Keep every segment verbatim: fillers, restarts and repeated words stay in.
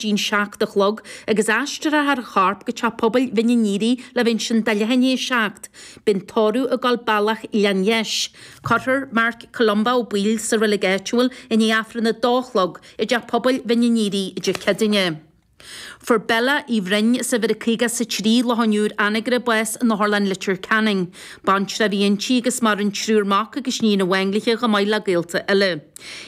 dtí'n seacht a chlog agus aistreofar a chorp go teach pobail Bhinn an Éadaigh le bheith ansin do leath i ndiaidh a seacht. Beidh an tórramh ag dul bealach Ghleann Dheis. Cuirfear Marc Columba Ó Baoill sa reilig áitiúil i ndiaidh Aifreann a dó a chlog i dteach pobail Bhinn an Éadaigh Dé Céadaoine. Fuair Bella Uí Bhroin as uimhir a caoga is a trí, Loch an Iúir, Anagaire, bás in Otharlann Leitir Ceanainn. Baintreach a bhí inti agus maireann triúr mac agus níon amháin léi chomh maith le gaolta eile.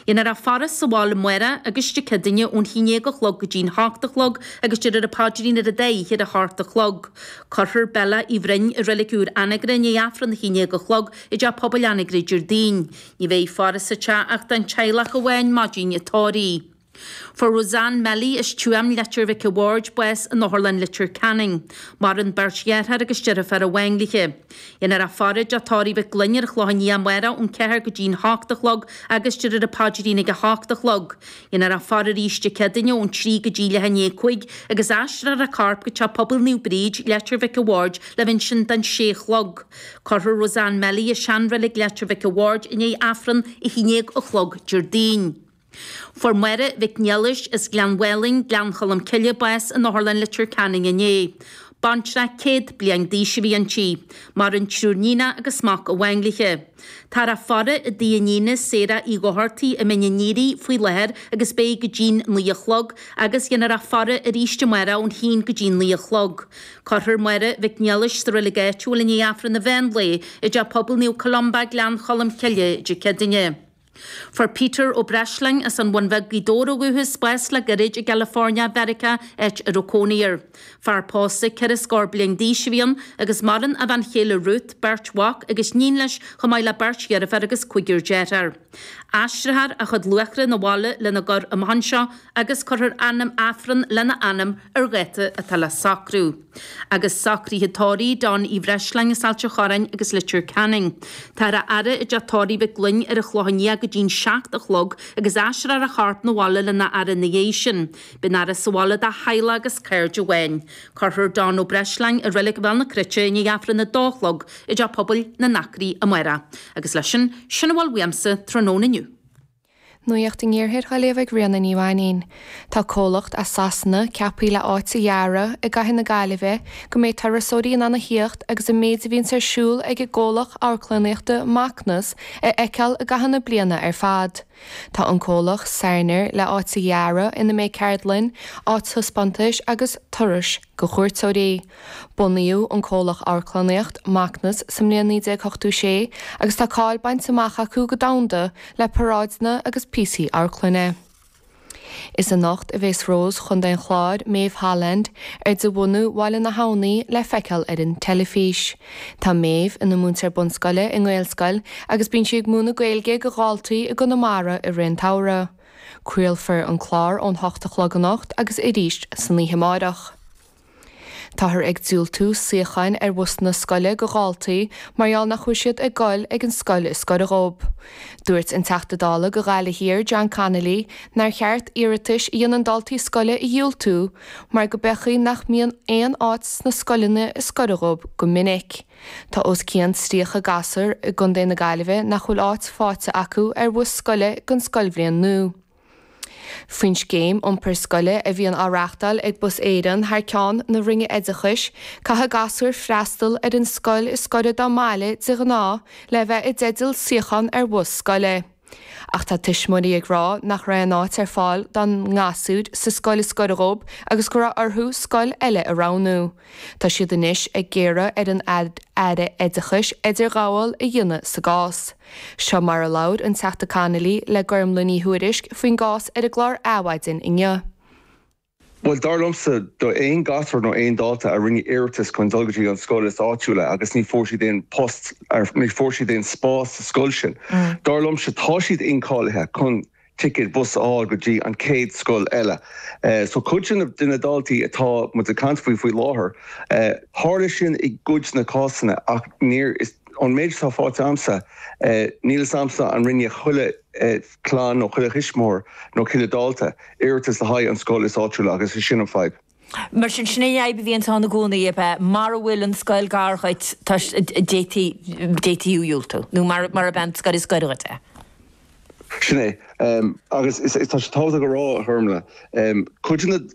Dhéanfar a faire sa bhaile amárach agus Dé Céadaoine ón haon déag a chlog go dtí'n hocht a chlog agus déarfar an paidrín ar an dá oíche ar a hocht a chlog. Cuirfear Bella Uí Bhroin i Reilig Úr Anagaire i ndiaidh Aifreann a haon déag a chlog i dTeach Pobail Anagaire Déardaoin. Ní bheidh faire sa teach ach don teaghlach amháin maidin an tórraimh. Fuair Roseanne Melly as Tuaim, Leitir Mhic a' Bhaird, bás in Otharlann Leitir Ceanainn. Maireann beirt dheartháir agus deirfiúr amháin léi. Dhéanfar a faire i dTeach Tórraimh Mhic Gloinn ar an Chlochán Liath amárach ón ceathair go dtí'n hocht a chlog agus déarfar an paidrín ag a hocht a chlog. Dhéanfar a faire arís Dé Céadaoine ón trí go dtí leath i ndiaidh a cúig agus aistreofar a corp go Teach Pobail Naomh Bríd, Leitir Mhic a' Bhaird le bheith ansin don sé a chlog. Cuirfear Roseanne Melly i seanreilig Leitir Mhic a' Bhaird i ndiaidh Aifreann a haon déag a chlog Déardaoin. Fuair Máire Mhic Niallais as Gleann Mhálainn, Gleann Cholm Cille, bás in Otharlann Leitir Ceanainn inné. Baintreach céad bliain d'aois a bhí inti. Maireann triúr níonach agus mac amháin léi. Táthar á faire i dtigh a níne, Sarah Uí Dhochartaigh, i mBinn an Éadaigh faoi láthair agus beidh go dtí'n naoi a chlog agus dhéanfar a faire arís amárach ón haon go dtí'n naoi a chlog. Cuirfear Máire Mhic Niallais sa reilig áitiúil i ndiaidh Aifreann an mheán lae i dTeach Pobail Naomh Columba, Gleann Cholm Cille, Dé Céadaoine. Fuair Peter Ó Breisleáin as an Bhun Bheag, Gaoth Dobhair ó dhúchas, bás le gairid i gCalifornia Mheiriceá, áit a raibh cónaí air. Fear pósta ceithre scór bliain d'aois a bhí ann agus maireann a bhean chéile Ruth, beirt mhac agus níon leis chomh maith le beirt dheirfiúr agus cúigear dearthár. Aistreofar a chuid luachra 'na bhaile lena gcur amach anseo agus cuirfear ainm Aifreann lena ainm ar dháta atá le socrú. Agus socruithe tórraimh Don Uí Bhreisleáin as Ailt an Chorráin agus Leitir Ceanainn. Táthar á fhaire i dTeach Tórraimh Mhic Gloinn ar an Chlochán Liath go dtí'n seacht a chlog agus aistreofar a chorp 'na bhaile lena fhaire ina dhiaidh sin. Beidh an fhaire sa bhaile dá theaghlach agus cairde amháin. Cuirfear Don Ó Breisleáin i Reilig Bhéal na Cruite i ndiaidh Aifreann a dó a chlog i dTeach Pobail na nAcraí amárach. Agus leis sin, sin a bhfuil uaimse tráthnóna inniu. Nuacht an Iarthair á léamh ag Ríona Ní Mhainín. Tá comhlacht as Sasana ceaptha le áit a dhearadh i gcathair na Gaillimhe go mbeidh turasóirí in ann a theacht agus an méid a bhíonns ar siúl ag an gcomhlacht amharclannaíochta Macnas a fheiceáil i gcaitheamh na bliana ar fad. Tá an comhlacht Sarner le áit a dhearadh ina mbeidh ceardlann, áit taispeántais agus turais go chuairteoirí. Bunaíodh an comhlacht amharclannaíocht Macnas sa mbliain naoi déag ochtó sé agus tá cáil bainte amach acu go domhanda le paráideanna agus píosaí amharclainne. Is anocht a bheas Rós Chontae an Chláir, Maeve Holland, ar de bhunadh Bhaile na hAbhnaí le feiceáil ar an teilifís. Tá Maeve ina múinteoir bunscoile i nGaelscoil agus bíonn sí ag múineadh Gaeilge go dhaltaí i gConamara i rith an tsamhraidh. Craolfar an clár ón hocht a chlog anocht agus arís san oíche amárach. Táthar ag diúltú suíocháin ar bhusanna scoile go dhaltaí mar gheall nach bhfuil siad ag goil ag an scoil is gaire dhóibh. Dúirt an Teachta Dála go Ghaillimh Thiar John Connolly nár cheart iarratais a dhéanann daltaí scoile a dhiúltú mar go b'fhéidir nach mbíonn aon áit sna scoileanna is gaire dhóibh go minic. Tá os cionn tríocha gasúr i gContae na Gaillimhe nach bhfuil áit faighte acu ar bhus scoile don scoilbhliain nua. Faoin scéim iompair scoile a bhíonn á reáchtáil ag Bus Éireann thar ceann na Roinne Oideachais, caithfidh gasúir freastal ar an scoil is gaire dá mbaile de ghnáth le bheith i dteideal suíochán ar bhus scoile. Ach tá tuismitheoirí ag rá nach raibh aon áit ar fáil dá ngasúir sa scoil is gaire dhóibh agus go raibh orthu scoil eile a roghnú. Tá siad anois ag iarraidh ar an Aire Oideachais idirghabháil a dhéanamh sa gcás. Seo mar a labhair an Teachta Connolly le Gormlaith Ní Thuairisg faoin gcás ar an gclár Adhmhaidin inniu. Well dar liomsa do aon gasúr nó aon dalta a rinne iarratas chun dul go dtí an scoil is áitiúla agus ní fuair siad aon post ar ní fuair siad aon spás sa scoil sin. Dar liomsa tá siad incháilithe chun ticket bus a fháil go dtí an chéad scoil eile. Uh, so cuid de na daltaí atá muid ag caint faoi faoi láthair, uh, tharla sin i gcuid na cásanna ach níor is an méid atá faighte agamsa uh, níl a fhios agamsa an rinne chuile uh, clann nó chuile thuismitheoir nó chuile dalta iarratas le haghaidh an scoil is áitiúla agus is sin an fadhb. Mar sin sin é a bhíonn ann i gcónaí ab ea mura bhfuil an scoil gar dhuit d'fhéadfaí diúltú nó mar mar a ben scoil is gaire dhuit é. Sin é um, agus is, is tá sé tábhachtach a rá a Ghormfhlaith um, cuid na, na